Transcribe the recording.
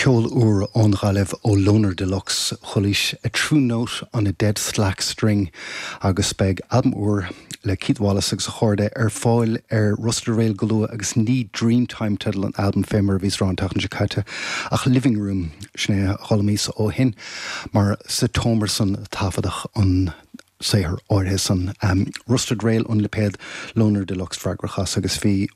Ceol úr ón Ghaillimh ó Loner Deluxe, chualaís A True Note on a Dead Slack String agus beidh albam úr le Keith Wallace agus a chairde ar fáil ar Rusted Rail go luath agus ní Dreamtime teideal an albaim fé mar a bhíos ag rá an tseachtain seo caite ach Living Room, sin é a d'fhoghlaimíos ó shin mar sa tseomra san a taifeadadh an saothar áirithe san. Rusted Rail an lipéad, Loner Deluxe freagrach as agus bhí.